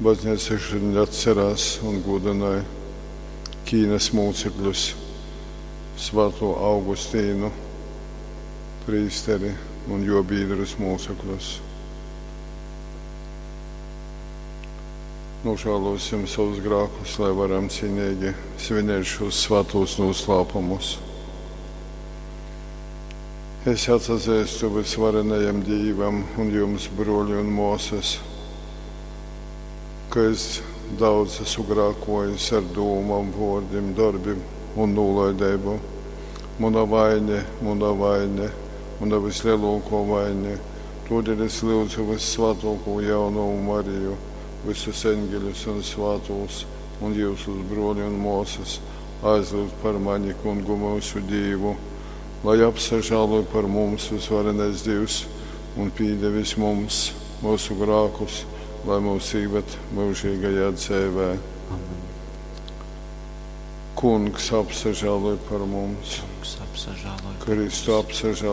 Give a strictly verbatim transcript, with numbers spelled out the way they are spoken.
Baznīca šodien atcerās un godināja Ķīnas mūcekļus, Svēto Augustīnu, prīsteri un jo biedrus mūcekļus. Nožēlosim savus grēkus, lai varam cienīgi svinēt šos svētos noslēpumus. Es atzīstu visvarenajam Dievam un jums, broļi un māsas, ka es daudz esmu grēkojis ar domām, vārdiem, darbiem un nolaidību. Mana vaine, mana vaine, mana vislielāko vaine. Tādēļ es lūdzu vissvētāko jauno Mariju, visus eņģeļus un svētos un jūsus broļi un māsas aizlūgt par mani, kungu mūsu Dievu, lai apsažāloj par mums visvarenais Dievs un pīdevis mums mūsu grākus, lai mūs īved mūžīgajā dzīvē. Amen. Kungs apsažāloj par mums, Kungs apsažāloj par Kristu mums. apsažāloj.